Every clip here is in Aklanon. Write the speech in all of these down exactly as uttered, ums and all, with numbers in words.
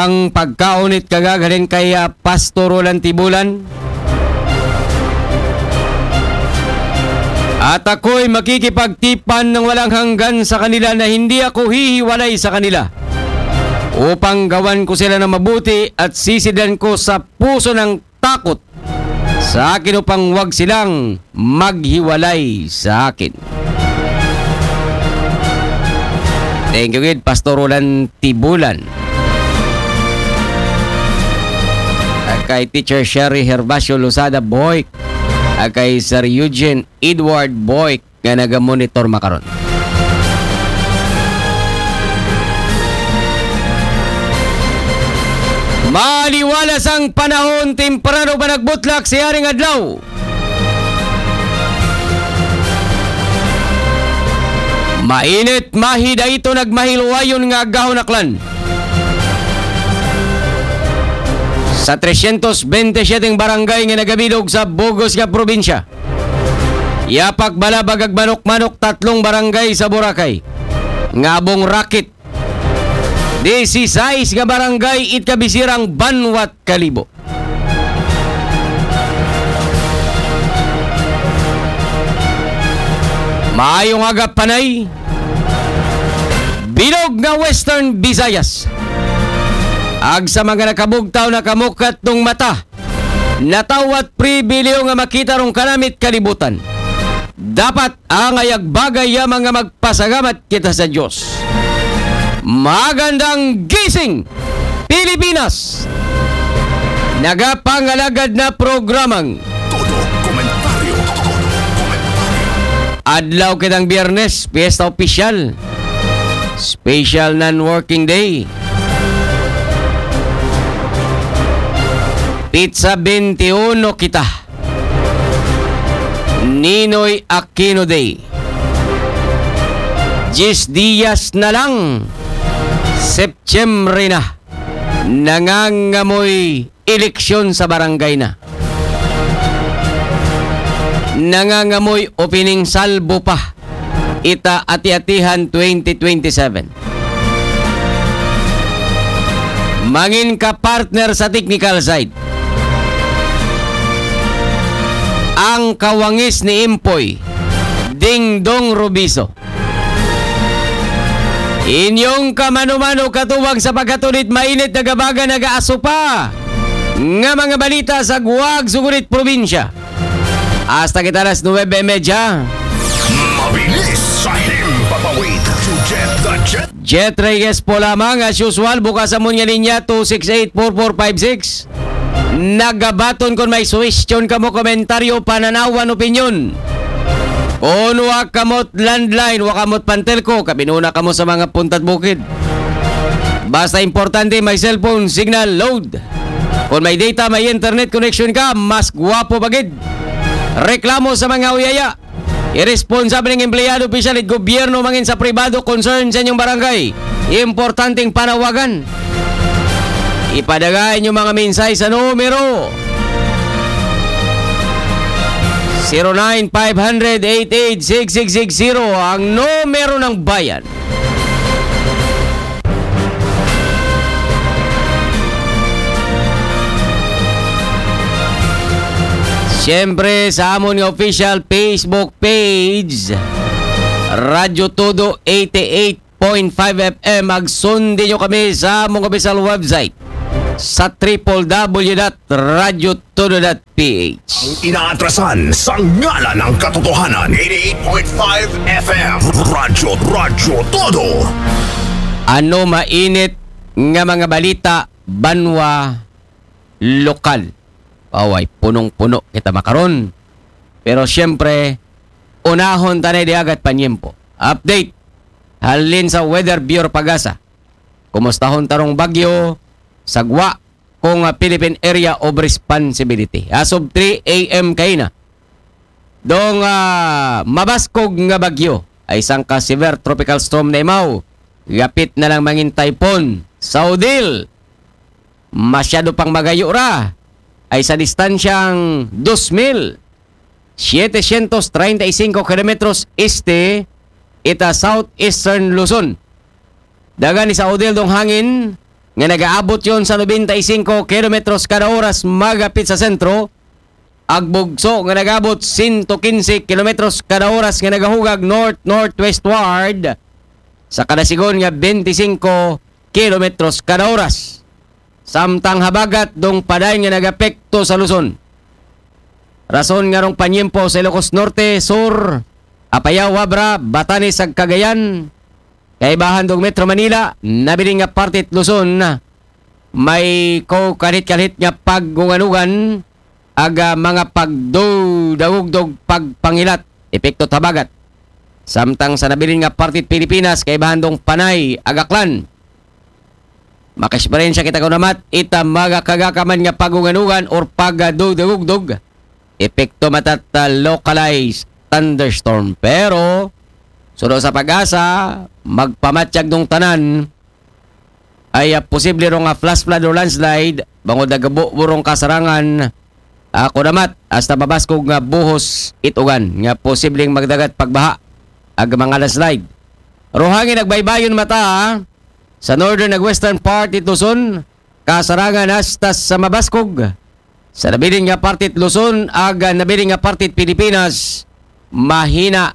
ang pagkaon it kagagaling kay, ah, Pastor Roland Tibulan. At ako'y makikipagtipan ng walang hanggan sa kanila na hindi ako hihiwalay sa kanila, upang gawan ko sila ng mabuti at sisidlan ko sa puso ng takot sa akin upang wag silang maghiwalay sa akin. Thank you gid, Pastor Roland Tibulan. At kay Teacher Sherry Herbacio Lozada Boyk. At kay Sir Eugene Edward Boyk nga naga-monitor makaron. Maliwalas ang panahon, temprano pa nagbutlak si Haring Adlaw. Mainit, mahida ito nagmahiluwayon nga agahon aklan. Sa tresyentos bente siyete barangay nga nagabilog sa bug-os nga probinsya, yapak balabag ag manok-manok tatlong barangay sa Boracay. Nga abong rakit, disisais nga barangay it kabisirang banwat Kalibo. Maayong aga, Panay. Bilog nga Western Visayas. Ag sa mga nakabugtaw, nakamukat tong mata, natawat pribiliyo nga makita rong kanamit kalibutan. Dapat angay ag bagay yamang nga magpasalamat kita sa Diyos. Magandang gising, Pilipinas! Nagapangalagad na programang Todo Komentaryo. Todo Komentaryo. Adlaw kitang Biyernes, piyesta opisyal. Special non-working day. Petsa bente uno kita. Ninoy Aquino Day. Diyes diyas na lang, Setyembre na. Nangangamoy eleksyon sa barangay na. Nangangamoy opening salvo pa ita ati-atihan twenty twenty-seven. Mangin ka partner sa technical side, ang kawangis ni Impoy, Dingdong Rubiso. Inyong kamano-mano katubang sa pagkatulit mainit, nagabaga, nagaaso pa nga mga balita sa guwag sugunit probinsya. Hasta kita alas nuwebe y media. Mabilis sa himpapawid. Jet the Jet. Jet Reyes po lamang, as usual, bukas amon nga linya, two six eight, four four five six. Nagabaton kon may suwestyon kamo, komentaryo, pananawan, opinyon. Kon wa kamot landline, wa kamot pantelko, kabinuna kamo sa mga puntat bukid. Basta importante may cellphone signal load. Kon may data, may internet connection ka, mas gwapo pa gid. Reklamo sa mga uyaya. Iresponsable nga empleyado, opisyal it gobyerno, mangin sa pribado, concern sa inyong barangay. Importanteng panawagan. Ipadagay inyong mga mensahe sa numero zero nine five hundred eight eight six six six zero, ang numero ng bayan. Siyempre, sa amon nga official Facebook page, Radyo Todo eighty-eight point five F M. Ag sundi nyo kami sa among official website sa triple W dot radyo todo dot P H. Ang inaatrasan sa ngalan ng katotohanan. Eighty-eight point five F M. Radyo, Radyo Todo. Ano mainit nga mga balita banwa lokal? Away, punong-puno kita makaron. Pero siyempre, unahon tanay diagat panyempo. Update halin sa Weather Bureau Pagasa. Kumustahon tarong bagyo sa gwa kung, ah, Philippine Area of Responsibility. As of three A M kaina, dong, ah, mabaskog nga bagyo ay sangka severe tropical storm na imaw. Gapit na lang mangin typhoon. Sa Odil, masyado pang magayo ra, ay sa distansyang dos mil setecientos treinta y cinco kilometros este ita southeastern Luzon. Dagan ni sa Odil dong hangin nga nagaabot yon sa nobenta y singko kilometros kada oras magapit sa sentro, ag bugso nga nagaabot sento kinse kilometros kada oras nga nagahugag north-northwestward sa kada sigon nga bente singko kilometros kada oras. Samtang habagat dong padayon nga nagapekto sa Luzon. Rason nga rong panyempo sa Ilocos Norte, Sur, Apayao, Abra, Batanes ag Cagayan, kaibahan dong Metro Manila, nabilin nga parte it Luzon, may ko kalhit-kalhit nga pagungan-ugan ag, ah, mga pagdudagugdog pagpangilat, epekto habagat. Samtang sa nabilin nga parte it Pilipinas, kaibahan dong Panay ag Aklan. Makaeksperyensya kita kunamat ita mga kagakaman nga pagungan-ugan or pagdudagugdog. Epekto matat localized thunderstorm. Pero, suno sa PAGASA, magpamatyag dong tanan ay, ah, posible rong, ah, flash flood or landslide, bangod nagabuburong kasarangan, ah, kunamat, hasta mabaskog nga buhos it ugan, nga posibleng magdagat pagbaha, ag mga landslide. Ruhangin nagbaybayon mata, ah, sa northern ag western part it Luzon, kasarangan hasta sa mabaskog. Sa nabilin nga parte it Luzon, ag nabilin nga parte it Pilipinas, mahina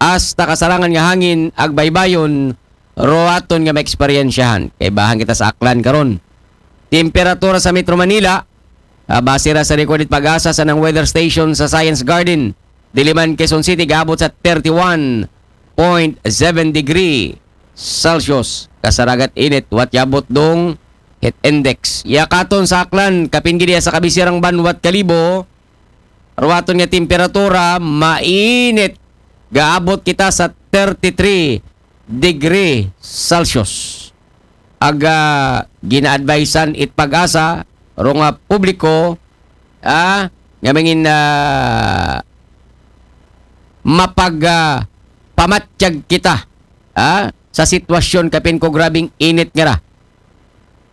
hasta kasarangan nga hangin ag baybayon, ruaton nga maeksperyensyahan. Kaibahan kita sa Aklan karon. Temperatura sa Metro Manila, ah, base ra sa record it PAGASA sa nang weather station sa Science Garden, Diliman, Quezon City, gaabot sa thirty-one point seven degree Celsius. Kasaragat init, wa it yabot dong heat index. Yakaton sa Aklan, kapin gid iya sa kabisirang banwat Kalibo, ruaton nga temperatura, mainit. Gaabot kita sa thirty-three degree Celsius. Ag, ah, gina-advisean it PAGASA, rong, ah, publiko, ah, nga mangin, ah, mapag, ah, pamatyag kita, ah, sa sitwasyon kapin ko grabing init nga ra.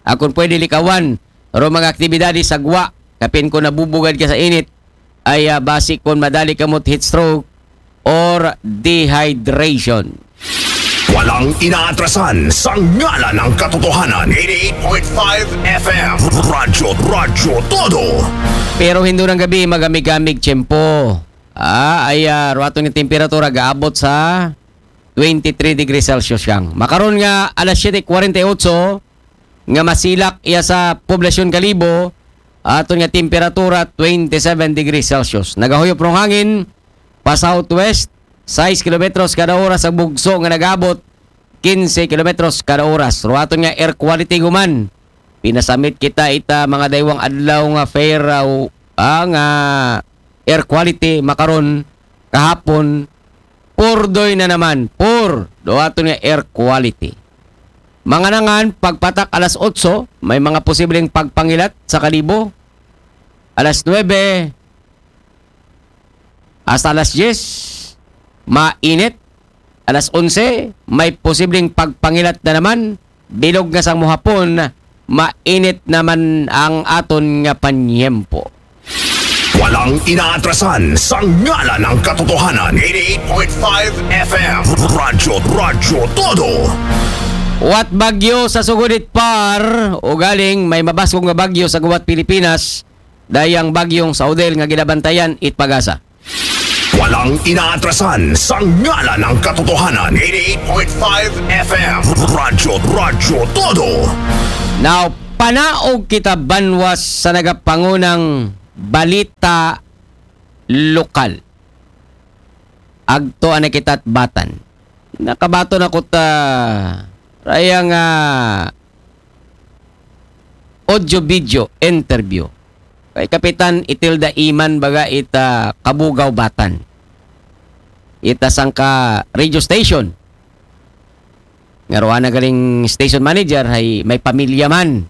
Akon pwede likawan, rong mga aktibidades sa gwa, kapin ko nabubugad ka sa init, ay, ah, basi kon madali kamot heat stroke or dehydration. Walang inaatrasan sa ngalan ng katotohanan. Eighty-eight point five F M. Radyo, Radyo Todo. Pero hindurang gabi, magamig-gamig tiyempo. Ah, ay, ah, ruaton nga temperatura gaabot sa twenty-three degrees Celsius yang. Makaron nga alas siyete kwarenta y otso, nga masilak iya sa poblasyon Kalibo, aton nga temperatura twenty-seven degrees Celsius. Nagahuyop rong hangin pa southwest, sais kilometros kada oras ang bugso nga nagabot kinse kilometros kada oras. Ruaton nga air quality guman. Pinasamit kita ita mga daywang adlaw nga fair, ah, ah, nga air quality makaron, kahapon, purdoy na naman, pur, do aton nga air quality. Mga nangan, pagpatak alas otso, may mga posibleng pagpangilat sa Kalibo. Alas nuebe hasta alas diyes, mainit. Alas onse, may posibleng pagpangilat na naman. Bilog nga sang muhapon, mainit naman ang aton nga panyempo. Walang inaatrasan sa ngalan ng katotohanan. Eighty-eight point five F M. Radyo, Radyo Todo. Wat bagyo sa sugod it par, ugaling may mabaskog nga bagyo sa gubat Pilipinas, dayang bagyong Saudel nga ginabantayan it PAGASA. Walang inaatrasan sa ngalan ng katotohanan. Eighty-eight point five F M. Radyo, Radyo Todo. Now, panaog kita banwas sa nagapangunang balita lokal. Agto ana kita Batan. Nakabaton ako ta raya nga audio-video interview kay Kapitan Itilda Iman, baga ita Kabugaw Batan. Ita sangka radio station. Nga ruwa na galing station manager, hay may pamilya man.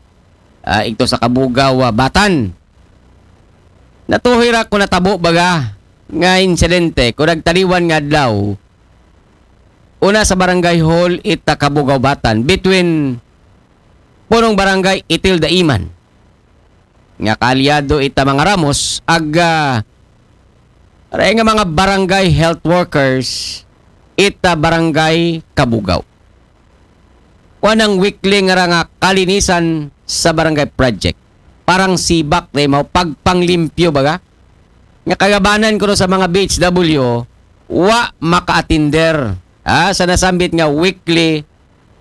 Ah, ito sa Kabugaw, ah, Batan. Natuhoy ra ko natabo baga nga insidente ko nagtaliwan nga adlaw. Una sa barangay hall ita Kabugaw Batan between punong barangay Itilda Iman nga kaalyado ita mga Ramos ag, ah, ray nga mga barangay health workers ita barangay Kabugaw. wa nang weekly nga ra nga kalinisan sa barangay project. Parang sibak na mo, pagpanglimpyo baga. Nga kagabanan ko sa mga B H W, wa maka-attender, ah, sa nasambit nga weekly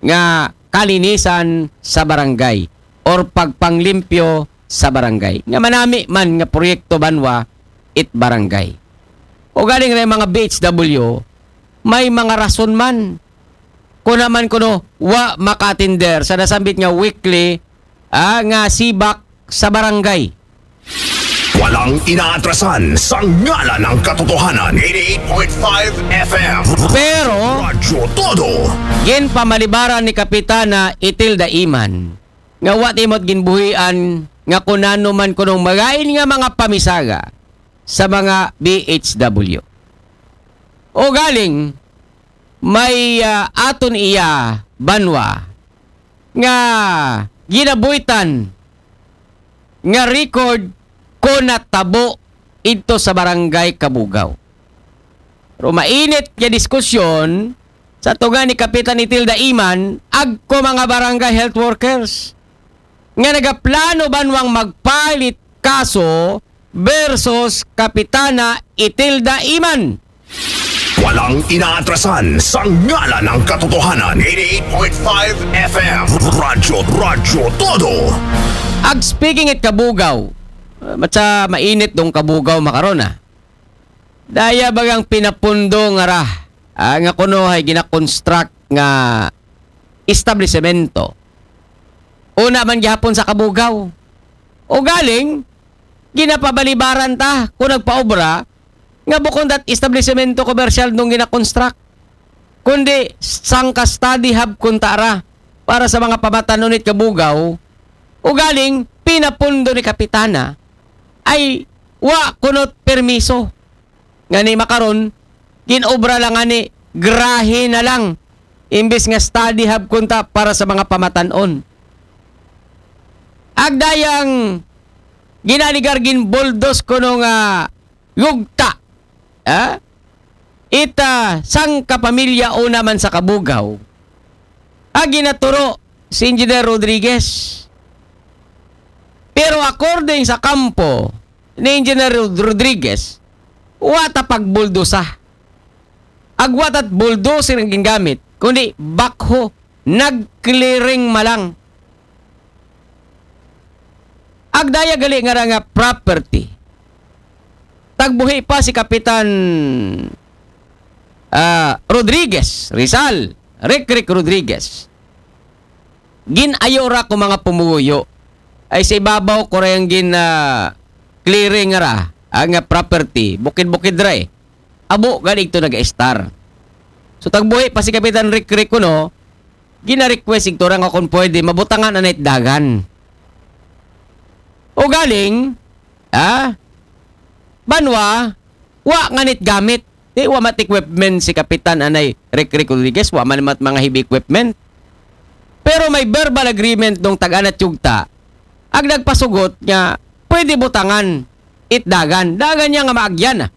nga kalinisan sa barangay or pagpanglimpyo sa barangay. Nga manami man nga proyekto banwa it barangay. O galing ra mga B H W, may mga rason man. Kuna man kuno, wa maka-attender sa nasambit nga weekly, ah, nga sibak sa barangay. Walang inaatrasan sa ngalan ng katotohanan. Eighty-eight point five F M. Pero, Radyo Todo. Ginpamalibaran ni Kapitana Itilda Iman nga wa timot ginbuhian nga kunano man kunong magain nga mga pamisaga sa mga B H W. O galing, may, ah, aton iya banwa nga ginabuhitan nga record ko natabo idto sa barangay Kabugaw. Pero mainit nga diskusyon sa tunga ni Kapitan Itilda Iman, agko mga barangay health workers nga nagaplano banwang magpalit kaso versus Kapitana Itilda Iman. Walang inaatrasan sa ngalan ng katotohanan. Eighty-eight point five F M. Radyo, Radyo Todo. Ag speaking it Kabugaw, uh, matsa mainit dong Kabugaw makaron, ah. Daya bagang pinapundo nga ra, ah, nga kuno hay ginakonstruct nga establisemento. Una man gihapon sa Kabugaw. O galing, ginapabalibaran ta kung nagpaobra nga bukon dat establisemento komersyal nung ginakonstruct, kundi sangka study hub kunta ra para sa mga pamatanon it Kabugaw. O galing, pinapundo ni Kapitana ay wa kunot permiso. Nga ni makaron, ginobra lang nga ni grahe na lang imbis nga study hub kunta para sa mga pamatanon. Agdayang ginaligar ginbuldos kuno nga yugta, ah, ita sangka pamilya una man sa Kabugaw, ag ginaturo si Engineer Rodriguez. Pero according sa kampo ni Engineer Rod- Rodriguez, wa ta pagbuldosa. Ag wa ta't bulldozer ang gingamit, kundi backhoe, nag-clearing malang. Agdaya gali nga ra nga property. Tagbuhi pa si Kapitan, ah, Rodriguez, Rizal, Rick Rick Rodriguez. Ginayo ra ko mga pumuyo. Ay sa ibabaw ko ra yung gin, ah, clearing ra, ang, ah, property, bukid-bukid ra eh. Abo, galing to nag-star. So tagbuhi pa si Kapitan Rick Rick kuno, gina-request igto ra nga kung pwede, mabutangan na nait dagan. O galing, ah, banwa, wa nga nit gamit. Di wa mat equipment si Kapitan anay Rick Rick Rodriguez, wa man mat mga heavy equipment. Pero may verbal agreement nung tag-anat yugta, ag nagpasugot nga pwede butangan it dagan. Dagan niya nga maagyan, ah.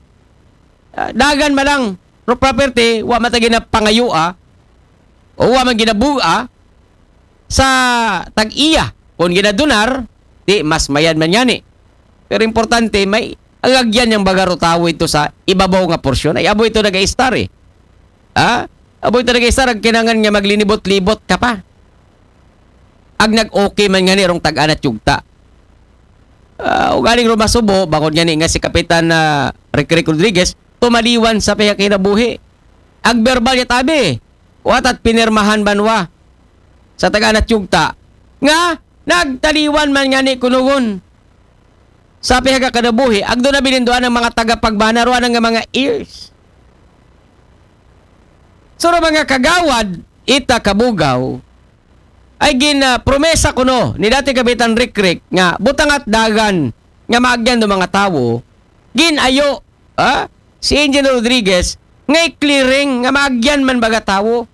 Ah, dagan malang, pero property, wa man ta ginapangayua, o wa man ginabuga sa tag-iya. Kung ginadunar, di mas mayad man yani. Pero importante, may agagyan niyang bagaro tawo ito sa ibabaw nga porsyon. Ay, abo ito nag-istar eh. Ha? Abo ito nag-istar, ang kinangan nga maglinibot-libot ka pa. Ag nag-okay man nga ni rong tag-anat yugta. Ah, ugaling rumasubo, bangod nga ni nga si Kapitan na Rick Rick Rodriguez, tumaliwan sa pihak kinabuhi. Ag verbal niya tabi, watat pinirmahan banwa sa tag-anat yugta nga nagtaliwan man nga ni kunugon sa pihak kinabuhi. Ag doon na bininduan ng mga tagapagbana, ruan nga mga ears. So, mga kagawad, ita kabugaw, ay gin, ah, promesa kuno ni dati Kapitan Rick Rick nga butangat dagan nga maagyan do mga tawo, gin ayo, ah, si Engineer Rodriguez nga i-clearing nga maagyan man baga tawo.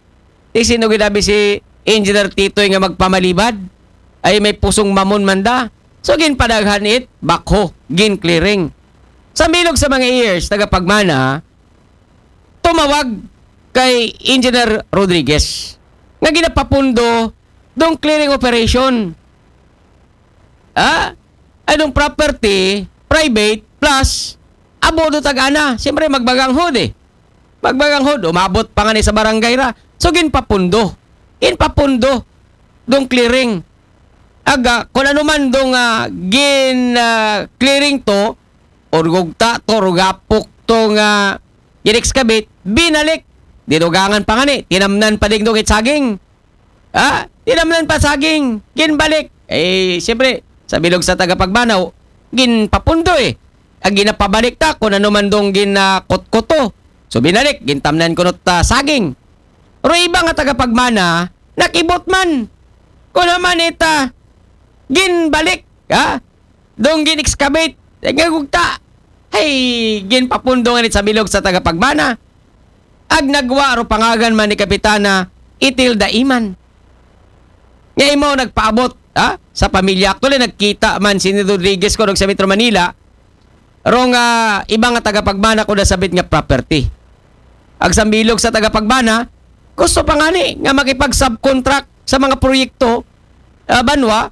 Di sino ginabi si Engineer Titoy nga magpamalibad? Ay may pusong mamon man da. So, ginpadaghan it, backhoe, gin-clearing. Sa milog sa mga ears, tagapagmana, tumawag kay Engineer Rodriguez nga ginapapundo dong clearing operation. Ha? Ay dong property, private, plus, abo do tag-ana. Siyempre, magbaganghod eh. Magbaganghod, umabot pa nga ni sa barangay ra. So, ginpapundo. Ginpapundo dong clearing. Aga, kung ano man dong ah, gin ah, clearing to, or gugta to, or gapok to nga gin-excavate, binalik. Dinugangan pa nga ni, tinamnan pa ding dong it saging. Ha? Tinamnan pa saging, ginbalik. Eh, siyempre, sa bilog sa tagapagbanaw, ginpapundo eh. Ang ginapabalik ta, kung ano man dong ginakutkuto. So, binalik, gintamnan kuno ta saging. Pero iba nga tagapagmana, nakibot man. Kung naman ita, ginbalik. Ha? Dong gin-excavate. Nga gugta. Ay, ginpapundo nga ni sa bilog sa tagapagmana. Ag nagwa ro pangagan man ni Kapitana Itilda Iman. Nga imo nagpaabot, ha? Sa pamilya. Actually, nagkita man si Rodriguez ko sa Metro Manila. Rong ah, iba nga tagapagmana ko na sabit nga property. Ag sambilog sa tagapagmana, gusto pa nga ni nga makipag-subcontract sa mga proyekto ah, banwa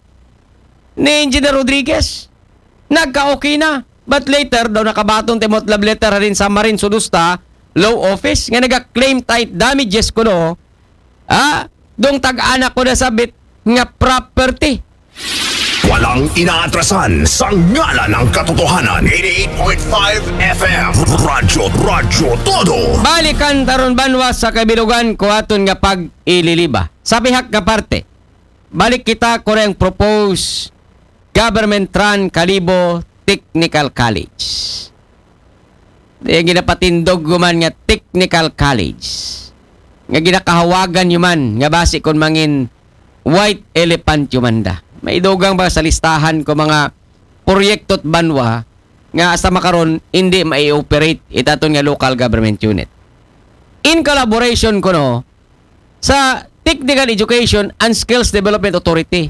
ni Engineer Rodriguez. Nagka-okay na. But later, daw nakabaton timot love letter rin sa Marin Sudusta Law Office nga naga-claim tight damages kuno. Ah, dong tag-anak ko na sabit nga property. Walang inaatrasan sa ngalan ng katotohanan. eighty-eight point five F M. Radyo, Radyo Todo. Balikan taron banwa sa kabilugan ko aton nga pag-ililiba. Sa pihak nga parte, balik kita ko rin propose government run Kalibo Technical College. Di ang ginapatindog man nga technical college. Nga ginakahawagan yuman nga basi kon mangin white elephant yumanda. May dugang ba sa listahan ko mga proyekto at banwa nga hasta makaron hindi mai-operate itaton nga local government unit. In collaboration kuno sa Technical Education and Skills Development Authority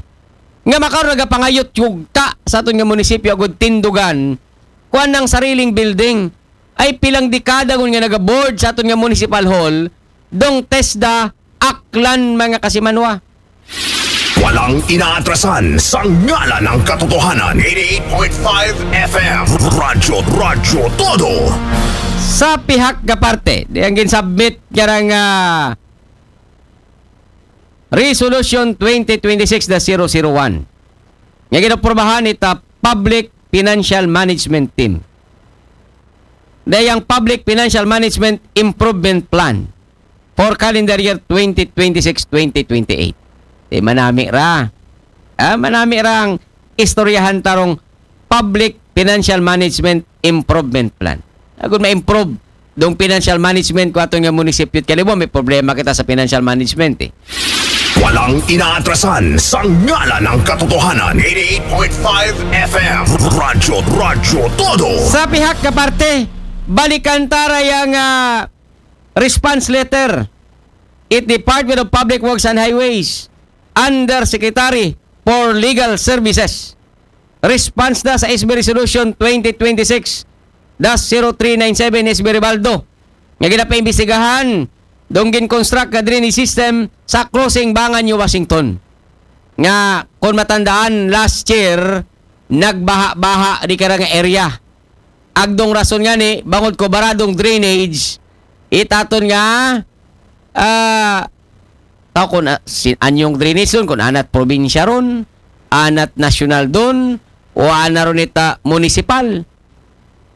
nga makaron nagapangayot yugta sa aton nga munisipyo agud tindugan kuan ng sariling building. Ay pilang dekada ngun nga nagaboard sa aton nga municipal hall, dong TESDA, Aklan, mga kasimanwa. Walang inaatrasan sa ngalan ng katotohanan. eighty-eight point five F M. Radyo, Radyo Todo. Sa pihak nga parte, di ang ginsubmit nga nga Resolution twenty twenty-six dash zero zero one nga ginaprubahan ita Public Financial Management Team. Dayang Public Financial Management Improvement Plan for calendar year twenty twenty-six twenty twenty-eight. Di manami ra. Ah, manami ra ang istoryahan tarong Public Financial Management Improvement Plan. Agud ma-improve dong financial management ko aton nga munisipyo at Kalibo, may problema kita sa financial management eh. Walang inaatrasan sa ngalan ng katotohanan. eighty-eight point five F M. Radyo, Radyo Todo. Sa pihak nga parte, balikan tara yang ah, response letter it Department of Public Works and Highways, Undersecretary for Legal Services. Response na sa S B Resolution twenty twenty-six dash zero three nine seven, S B Ribaldo, nga ginapaimbestigahan dong gin-construct nga drainage system sa crossing Bangan New Washington. Nga, kung matandaan, last year, nagbaha-baha di kara nga area. Agdong rason nga ni, bangod ko baradong drainage, itaton nga, ah, tao kung ah, si, anyong drainage dun, kung anat probinsya ron, anat nasyonal dun, o ana ron ita munisipal.